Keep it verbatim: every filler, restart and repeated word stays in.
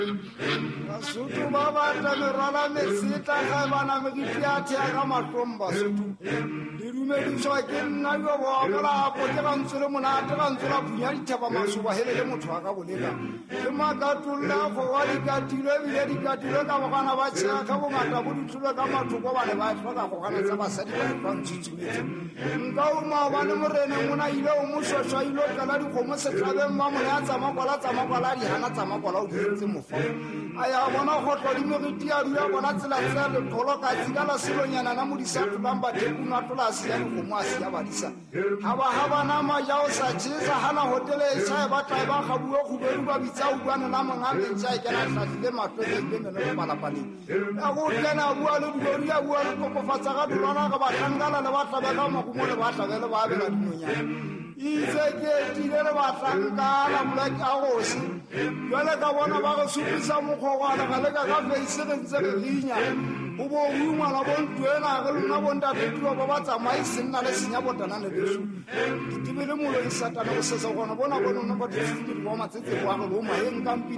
Basotho ba batla merwala metsetla ga bana meriti a thea ka mahlong Basotho. Le dumediswa ke nna yo bo molapo ke ga ntse le monate ga ntse la phunya dithaba masoba hele le motho wa ka boleka. Ke makatolla go wa dikatilwe ebile dikatilwe ka bogana ba tshega ka bongata bo ditlholo ka mathoko ba ne ba tlhoka go gana tsa basadi ba ba ntshutshumetse. Nka o maobane moreneng o na ile o moshwashwa ile o tlala dikgomo setlhabeng ba mone a tsamaya kwala tsamaya kwala a di hana tsamaya kwala o di entse mofa. A ya bona kgotlo di meriti a dula bona tsela tsa letholo ka tsika la selonyana na modisa tlolang bathekung a tlola a siya dikgomo a siya badisa. Ha ba ha bana maja o sa tjhesa hana hotele e tjha e batla e ba kgabuwe kgubedu ba bitsa utlwane la monga metsi a e kena hlahlile mahlo e ile meno le palapaleng. Ya go kena a bua le dilori a bua le kokofatsa ka tholwana re bahlankana le ba tlabe ka marumo le ba tlabe le ba abela dinonyana. Itse ke etile le bahlankana bolake a gosi. Jwale ka bona ba re supisa mokgogwana ga leka ka feise re ntse re rinya. O bo o ngwana bo ntwena re lona bo ntate tulo ba ba tsamaise nna le senya botana le beso. Ditebele moloi satana go sesa gona bona bona ba di ba matsetse kwa re bo maeng kampini.